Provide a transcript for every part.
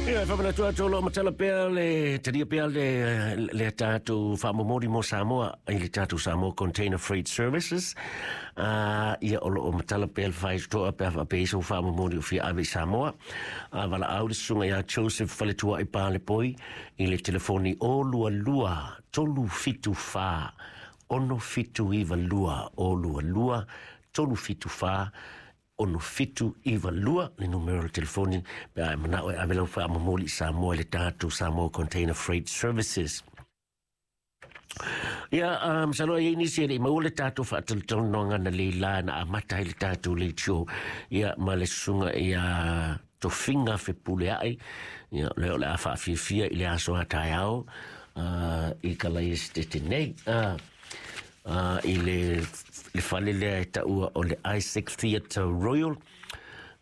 Ia, e faamanatu atu o lo o matala pea le talia pea le tatou faamomoli mo Samoa i le tatou Samoa Container Freight Services. Ia, o lo o matala pea le faitotoa pe a faapea i sau faamomoli o fia ave i Samoa. A valaau le susuga ia Joseph Faletuai Palepoi i le telefoni 022 374 6792, 022 374 6792 le numero o le telefoni pe a e manao e ave lau faamomoli i Samoa i le tatou Samoa Container Freight Services. Ia, masalo ai nisi e le i maua le tatou faatalatalanoaga na leila na amata ai le tatou leitio, ia, ma le susuga ia Tofiga Fepuleai, ia, lea o le a faafiafia i le aso a taeao i Kalaesetete nei. I le fale lea e taua o le Isaac Theatre Royal.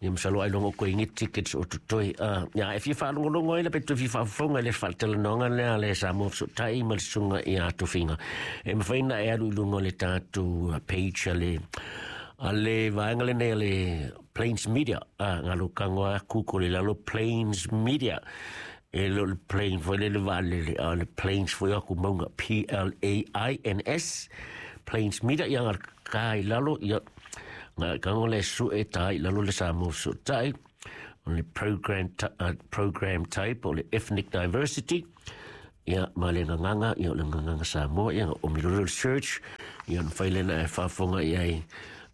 Ia, masalo ai longo koe ingi tickets o totoe. Ia, e fia faalogologo ai la pe toe fia faafofoga i le faatalanoaga lea le Samoa Fesootai ma le susuga ia Tofiga. E mafai na e alu i luga o le tatou page a le vaega lenei a le Plains Media. Ngalo kango aku ko le lalo Plains Media. E le o le plane foi le vaalele, a o le Plains foi aku maunga, Plains, Plains Media. Ia ngal ka i lalo, ia nga kango le su e tai lalo le Samoa Fesootai, o le program type o le ethnic diversity, ia, ma le gagaga, ia, o le gagaga Samoa, ia, o mi search, ia, na fai lena e faafofoga i ai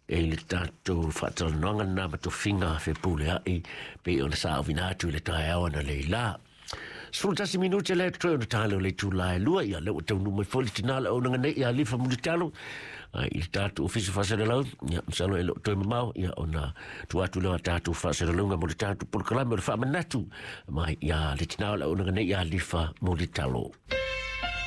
e le tatou faatalanoaga lena ma Tofiga Fepuleai pe ona sa ovina atu i le taeao na leila. 11 minute le toe ona tale o le itula e 2. Ia, lea ua taunuu mai foi le tinā le auaunaga nei ia Lifa Mulitalo i le tatou ofisa faasalalau. Ia, masalo e le o toe mamao, ia, ona tuu atu lea o tatou faasalalauga mo le tatou polokalame o le faamanatu mai ia le tinā o le auaunaga nei ia Lifa Mulitalo.